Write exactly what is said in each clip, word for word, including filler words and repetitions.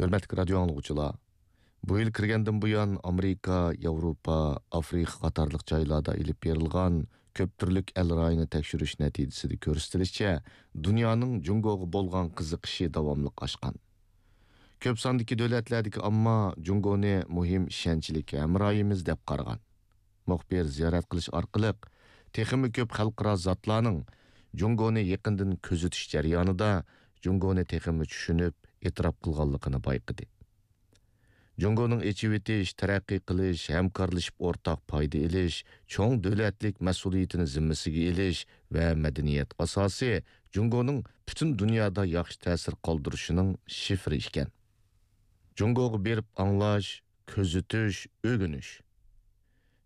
ھۆرمەتلىك رادىيو ئاڭلىغۇچىلار، بۇ يىل كىرگەندىن بۇيان، ئامېرىكا، ياۋروپا، ئافرىقا قاتارلىق جايلاردا ئېلىپ بېرىلغان كۆپ تۈرلۈك ئەل رايىنى تەكشۈرۈش نەتىجىسىدە كۆرسىتىلىشىچە، دۇنيانىڭ جۇڭگوغا بولغان قىزىقىشى داۋاملىق ئاشقان. كۆپ ساندىكى دۆلەتلەردىكى ئامما جۇڭگونى مۇھىم ئىشەنچلىك ھەمراھىمىز دەپ قارىغان. مۇخبىر زىيارەت قىلىش ئارقىلىق تېخىمۇ كۆپ خەلقئارا زاتلارنىڭ جۇڭگونى يېقىندىن كۆزىتىش جەريانىدا جۇڭگونى تېخىمۇ چۈشىنىپ، ئېتىراپ قىلغانلىقىنى بايقىدى. جۇڭگونىڭ ئېچىۋېتىش، تەرەققىي قىلىش، ھەمكارلىشىپ ئورتاق پايدا ئېلىش، چوڭ دۆلەتلىك مەسئۇلىيىتىنى زىممىسىگە ئېلىش ۋە مەدەنىيەت ئاساسى جۇڭگونىڭ پۈتۈن دۇنيادا ياخشى تەسىر قالدۇرۇشىنىڭ شىفىرى ئىكەن. جۇڭگوغا بېرىپ ئاڭلاش، كۆزىتىش، ئۆگىنىش.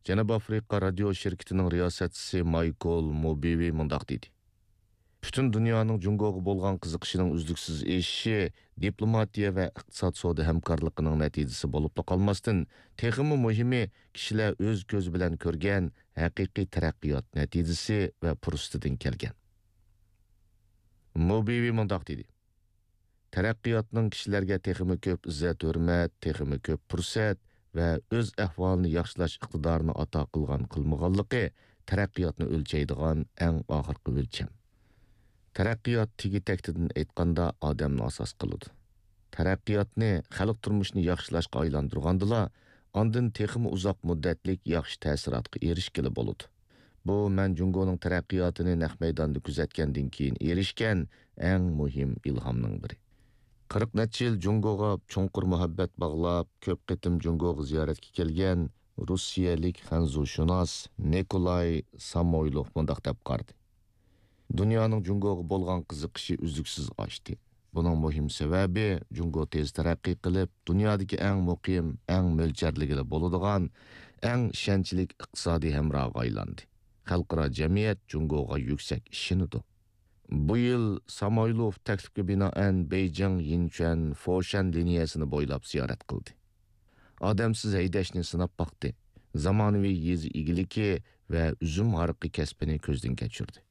جەنۇبىي ئافرىقا رادىيو شىركىتىنىڭ رىياسەتچىسى مايكل موبىۋى مۇنداق دېدى: پۈتۈن دۇنيانىڭ جۇڭگوغا بولغان قىزىقىشىنىڭ ئۈزلۈكسىز ئېشىشى دىپلوماتىيە ۋە ئىقتىساد سودا ھەمكارلىقىنىڭ نەتىجىسى بولۇپلا قالماستىن، تېخىمۇ مۇھىمى، كىشىلەر ئۆز كۆزى بىلەن كۆرگەن ھەقىقىي تەرەققىيات نەتىجىسى ۋە پۇرسىتىدىن كەلگەن. موبىۋى مۇنداق دېدى: تەرەققىياتنىڭ كىشىلەرگە تېخىمۇ كۆپ ئىززەت-ھۆرمەت، تېخىمۇ كۆپ پۇرسەت ۋە ئۆز ئەھۋالىنى ياخشىلاش ئىقتىدارىنى ئاتا قىلغان-قىلمىغانلىقى تەرەققىياتنى ئۆلچەيدىغان ئەڭ ئاخىرقى ئۆلچەم. تەرەققىيات تېگى-تەكتىدىن ئېيتقاندا ئادەمنى ئاساس قىلىدۇ. تەرەققىياتنى خەلق تۇرمۇشىنى ياخشىلاشقا ئايلاندۇرغاندىلا، ئاندىن تېخىمۇ ئۇزاق مۇددەتلىك ياخشى تەسىراتقا ئېرىشكىلى بولىدۇ. بۇ مەن جۇڭگونىڭ تەرەققىياتىنى نەق مەيداندا كۆزەتكەندىن كېيىن ئېرىشكەن ئەڭ مۇھىم ئىلھامنىڭ بىرى. قىرىق نەچچە يىل جۇڭگوغا چوڭقۇر مۇھەببەت باغلاپ، كۆپ قېتىم جۇڭگوغا زىيارەتكە كەلگەن روسىيەلىك خەنزۇشۇناس نىكولاي سامويلوف مۇنداق دەپ قارىدى: دۇنيانىڭ جۇڭگوغا بولغان قىزىقىشى ئۈزلۈكسىز ئاشتى. بۇنىڭ مۇھىم سەۋەبى، جۇڭگو تېز تەرەققىي قىلىپ، دۇنيادىكى ئەڭ مۇقىم، ئەڭ مۆلچەرلىگىلى بولىدىغان، ئەڭ ئىشەنچلىك ئىقتىسادىي ھەمراھقا ئايلاندى. خەلقئارا جەمئىيەت جۇڭگوغا يۈكسەك ئىشىنىدۇ. بۇ يىل سامويلوف تەكلىپكە بىنائەن بېيجىڭ، يىنچۈەن، فوشەن لىنىيەسىنى بويلاپ زىيارەت قىلدى. ئادەمسىز ھەيدەشنى سىناپ باقتى. زامانىۋى يېزا ئىگىلىكى ۋە ئۈزۈم ھارىقى كەسپىنى كۆزدىن كەچۈردى.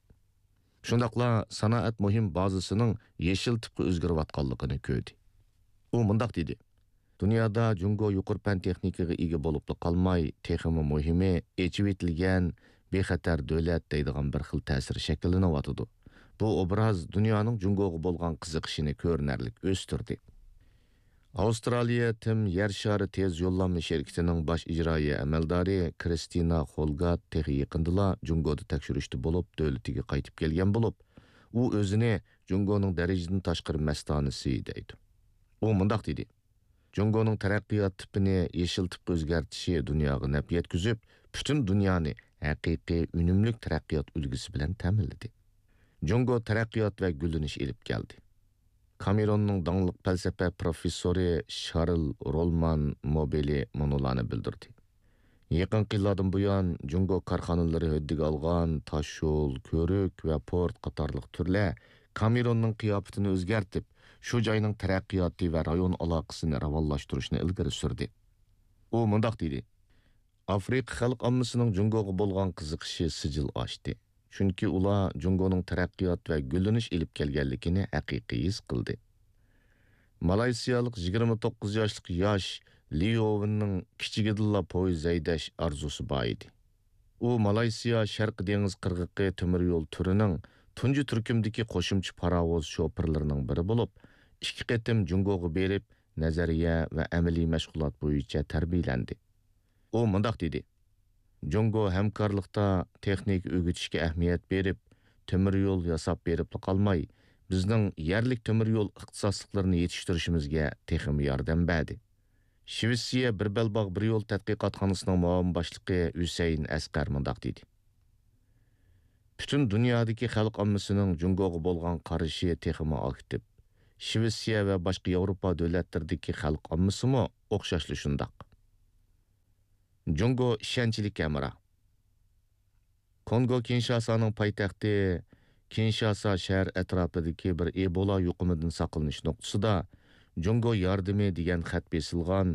شۇنداقلا سانائەت مۇھىم بازىسىنىڭ يېشىل تىپقا ئۆزگىرىۋاتقانلىقىنى كۆردى. ئۇ مۇنداق دېدى: دۇنيادا جۇڭگو يۇقىرى پەن تېخنىكىغا ئىگە بولۇپلا قالماي، تېخىمۇ مۇھىمى، ئېچىۋېتىلگەن، بىخەتەر دۆلەت دەيدىغان بىر خىل تەسىر شەكىللىنىۋاتىدۇ. بۇ ئوبراز دۇنيانىڭ جۇڭگوغا بولغان قىزىقىشىنى كۆرۈنەرلىك ئۆستۈردى. ئاۋسترالىيە تىم يەر شارى تېز يوللانما شىركىتىنىڭ باش ئىجرائىيە ئەمەلدارى كرىستىنا خولگات تېخى يېقىندىلا جۇڭگودا تەكشۈرۈشتە بولۇپ، دۆلىتىگە قايتىپ كەلگەن بولۇپ، ئۇ ئۆزىنى جۇڭگونىڭ دەرىجىدىن تاشقىرى مەستانىسى دەيدۇ. ئۇ مۇنداق دېدى: جۇڭگونىڭ تەرەققىيات تىپىنى يېشىل تىپقا ئۆزگەرتىشى دۇنياغا نەپ يەتكۈزۈپ، پۈتۈن دۇنيانى ھەقىقىي ئۈنۈملۈك تەرەققىيات ئۈلگىسى بىلەن تەمىنلىدى. جۇڭگو تەرەققىيات ۋە گۈللىنىش ئېلىپ كەلدى. كامېروننىڭ داڭلىق پەلسەپە پروفېسسورى شارل رولمان موبېلى مۇنۇلارنى بىلدۈردى: يېقىنقى يىللاردىن بۇيان، جۇڭگو كارخانىلىرى ھۆددىگە ئالغان تاشيول، كۆۋرۈك ۋە پورت قاتارلىق تۈرلەر كامېروننىڭ قىياپىتىنى ئۆزگەرتىپ، شۇ جاينىڭ تەرەققىياتى ۋە رايون ئالاقىسىنى راۋانلاشتۇرۇشنى ئىلگىرى سۈردى. ئۇ مۇنداق دېدى: ئافرىقا خەلق ئاممىسىنىڭ جۇڭگوغا بولغان قىزىقىشى سىجىل ئاشتى. چۈنكى ئۇلار جۇڭگونىڭ تەرەققىيات ۋە گۈللىنىش ئېلىپ كەلگەنلىكىنى ھەقىقىي ھېس قىلدى. مالايسىيالىق يىگىرمە توققۇز ياشلىق ياش لى يوۋېننىڭ كىچىكىدىنلا پويىز ھەيدەش ئارزۇسى بار ئىدى. ئۇ مالايسىيا شەرقىي دېڭىز قىرغىقى تۆمۈر يول تۈرىنىڭ تۇنجى تۈركۈمدىكى قوشۇمچە پاراۋۇز شوپۇرلىرىنىڭ بىرى بولۇپ، ئىككى قېتىم جۇڭگوغا بېرىپ، نەزەرىيە ۋە ئەمەلىي مەشغۇلات بويىچە تەربىيەلەندى. ئۇ مۇنداق دېدى: جۇڭگو ھەمكارلىقتا تېخنىكا ئۆگىتىشكە ئەھمىيەت بېرىپ، تۆمۈر يول ياساپ بېرىپلا قالماي، بىزنىڭ يەرلىك تۆمۈر يول ئىختىساسلىقلىرىنى يېتىشتۈرۈشىمىزگە تېخىمۇ ياردەم بەردى. شىۋېتسىيە بىر بەلباغ بىر يول تەتقىقاتخانىسىنىڭ مۇئاۋىن باشلىقى ھۈسەيىن ئەسقەر مۇنداق دېدى: پۈتۈن دۇنيادىكى خەلق ئاممىسىنىڭ جۇڭگوغا بولغان قارىشى تېخىمۇ ئاكتىپ. شىۋېتسىيە ۋە باشقا ياۋروپا دۆلەتلىرىدىكى خەلق ئاممىسىمۇ ئوخشاشلا شۇنداق. جۇڭگو ئىشەنچلىك ھەمراھ. كونگو كىنشاسانىڭ پايتەختى كىنشاسا شەھەر ئەتراپىدىكى بىر ئېبولا يۇقۇمىدىن ساقلىنىش نۇقتىسىدا جۇڭگو ياردىمى دېگەن خەت بېسىلغان